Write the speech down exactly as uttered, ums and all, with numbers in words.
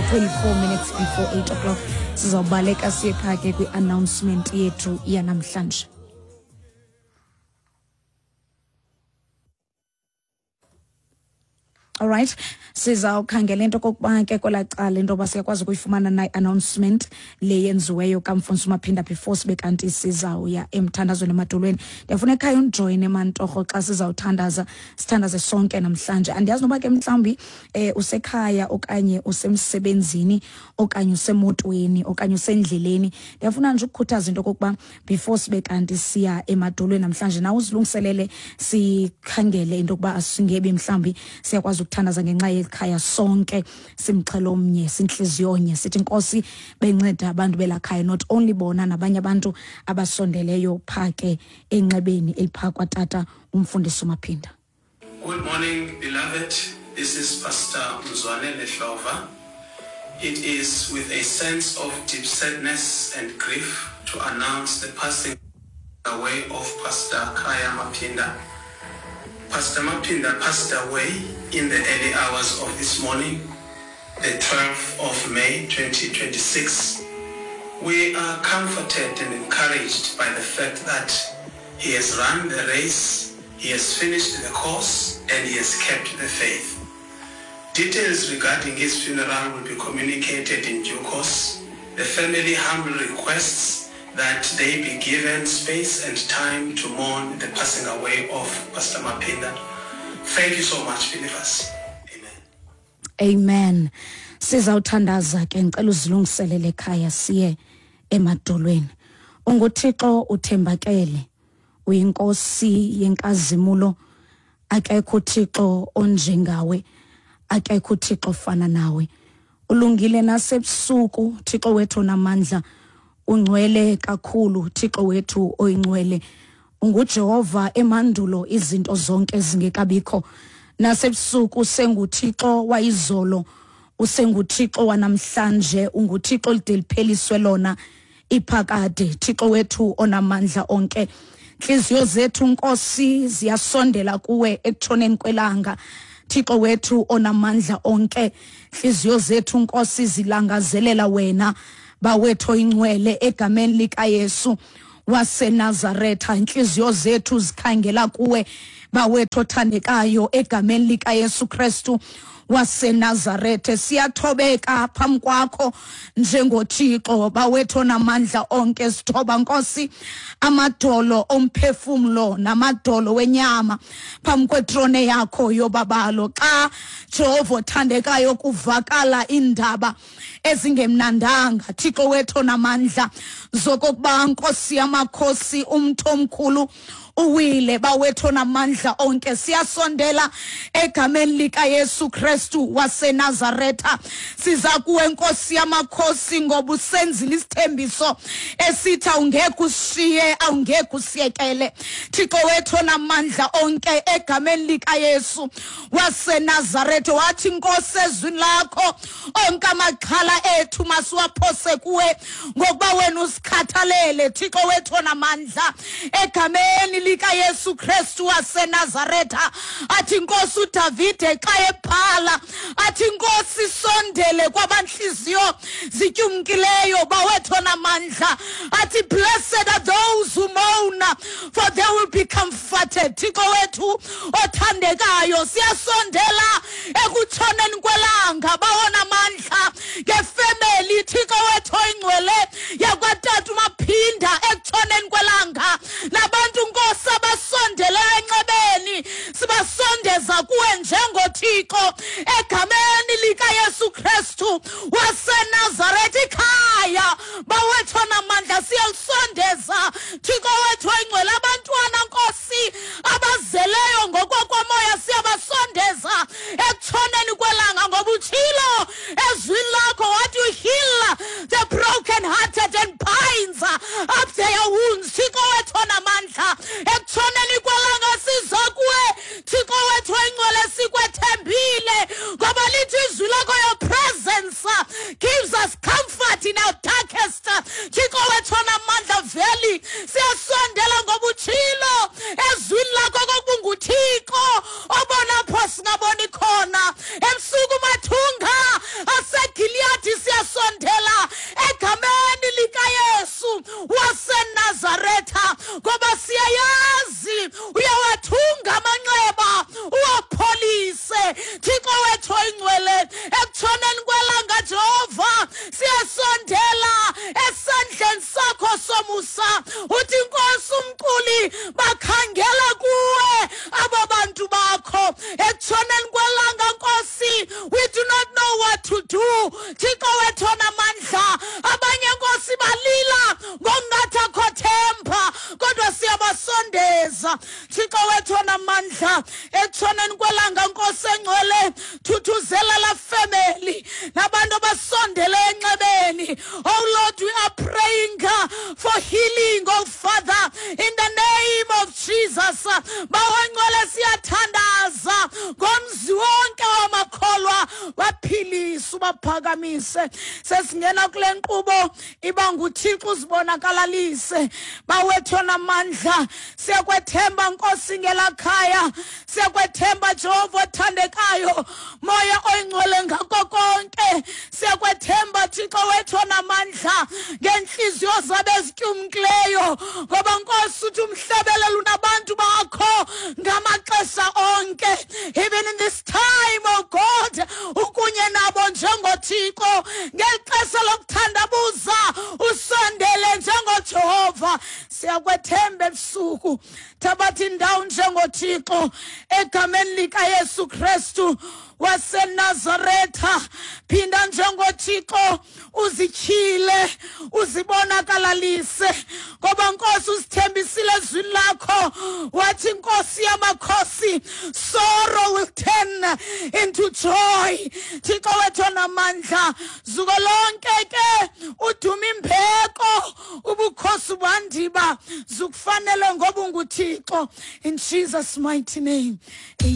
twenty-four minutes before eight o'clock. Sizawubaleka siye phaa ke kwi-announcement yethu yanamhlanje. All right, sizawukhangela into okokuba ke kwelaa cala into yoba siyakwazi ukuyifumana na i-announcement le yenziweyo kamfundisi uMaphinda before sibe kanti sizawuya emthandazweni emadolweni. Ndiyafuna ekhaya undijoyine mantorho xa sizawuthandaza, sithandaze sonke namhlanje. Andiyazi noba ke mhlawumbi eh, usekhaya okanye usemsebenzini okanye usemotweni okanye usendleleni. Ndiyafuna nje ukukhuthaza into okokuba before sibe kanti siya emadolweni namhlanje, nawe uzilungiselele, sikhangele into yokuba asingebi mhlawumbi siyakwazi ukuthandaza ngenxa yekhaya sonke, simxhelo omnye, sintliziyo nye, sithi Nkosi benceda abantu belakhaya, not only bona nabanye abantu abasondeleyo phaa ke enxebeni eliphaa kwatata umfundisi uMaphinda. Good morning, beloved. This is Pastor Mzwane Lehlova. It is with a sense of deep sadness and grief to announce the passing away of Pastor Kaya Maphinda. Pastor Maphinda passed away in the early hours of this morning, the twelfth of May twenty twenty-six. We are comforted and encouraged by the fact that he has run the race, he has finished the course, and he has kept the faith. Details regarding his funeral will be communicated in due course. The family humbly requests that they be given space and time to mourn the passing away of Pastor Maphinda. Thank you so much, believers. Amen. Amen. Sizawuthandaza ke, ngicela uzilungiselele ekhaya siye emadolweni. UnguThixo uthembakele, uyinkosi yenkazimulo, akekho uThixo onjengawe, akekho uThixo ofana nawe. Ulungile nasebusuku, Thixo wethu onamandla, ungcwele kakhulu, Thixo wethu oyingcwele. UnguJehova emandulo izinto zonke zingekabikho. Nasebusuku usenguThixo wayizolo, usenguThixo wanamhlanje, unguThixo olide lipheliswe lona iphakade, Thixo wethu onamandla onke. Intliziyo zethu Nkosi ziyasondela kuwe ekutshoneni kwelanga, Thixo wethu onamandla onke. Intliziyo zethu Nkosi zilangazelela wena, bawethu oyingcwele, egameni likaYesu waseNazaretha. Intliziyo zethu zikhangela kuwe, bawethu othandekayo, egameni likaYesu Kristu waseNazaretha. Siyathobeka phambi kwakho njengoThixo bawethu onamandla onke. Sithoba Nkosi amadolo omphefumlo namadolo wenyama phambi kwetrone yakho yobabalo. Xa Jehova othandekayo kuvakala indaba ezingemnandanga, Thixo wethu onamandla, zokokuba Nkosi yamakhosi umntu omkhulu uwile, bawethu onamandla onke, siyasondela egameni likaYesu Kristu waseNazaretha. Siza kuwe Nkosi yamakhosi ngoba usenzile isithembiso esithi awungeke usishiye, awungeke usiyekele. Thixo wethu onamandla onke, egameni likaYesu waseNazaretha, wathi Nkosi ezwini lakho onke amaxhala ethu masiwaphose kuwe ngokuba wena usikhathalele. Thixo wethu onamandla, egameni likaYesu Kristu waseNazaretha, athi Nkosi uDavide xa ebhala, athi Nkosi sondele kwabanhliziyo zityumkileyo, bawethu onamandla, athi blessed are those who mourn, for they will be comforted. Thixo wethu othandekayo, siyasondela ekutshoneni kwelanga, bawona amandla ngefemeli, Thixo wethu oyingcwele yakwatata uMaphinda, ekutshoneni kwelanga nabantu Nkosi abasondele enxebeni, sibasondeza kuwe njengoThixo egameni likaYesu Kristu waseNazaretha. Ikhaya bawethu onamandla siyalisondeza, Thixo wethu oyingcwele, abantwana Nkosi abazeleyo ngokwamoya siyabasondeza ekutshoneni kwelanga, ngoba utshilo ezwini lakho wathi you heal the broken hearted and binds up their wounds. Thixo wethu onamandla, ekutshoneni kwelanga siza kuwe, Thixo wethu oyingcwele, sikwethembile ngoba lithi izwi lakho, your presence gives us comfort in our darkest. Thixo wethu onamandla valley, siyasondela ngoba We do not know what to do. Thixo wethu onamandla, abanye Nkosi balila ngokungathi akho themba, kodwa siyabasondeza. Thixo wethu onamandla, ekutshoneni kwelanga Nkosi engcwele, thuthuzela la family nabantu abasondele enxebeni. Oh Lord, we are praying for healing, oh Father, in the name of Jesus. Bawo ngcwele, siyathandaza ngomzi wonke wamakholwa, baphilise, ubaphakamise. Sesingena kule nkqubo, iba nguThixo uzibonakalalise. Bawethu onamandla, siyakwethemba Nkosi ngelakhaya, siyakwethemba Jehova othandekayo, Moya oyingcwele ngako konke. Siyakwethemba Thixo wethu onamandla ngeenhliziyo zabo ezityumkileyo, ngoba Nkosi uthi umhlabelelo unabantu bakho ngamaxesha onke. Even in this time, oh God, ukunye nabo njengoThixo. Ngeli xesha lokuthandabuza usondele njengoJehova. Siyakwethemba ebusuku, thabatha indawo njengoThixo egameni likaYesu Kristu waseNazaretha. Phinda njengoThixo uzityhile, uzibonakalalise, ngoba Nkosi usithembisile ezwini lakho, wathi Nkosi yamakhosi, sorrow will turn into joy. Thixo wethu onamandla, zuko lonke ke uduma imbeko, ubukhosi bandiba zukufanele ngoba unguThixo. In Jesus' mighty name.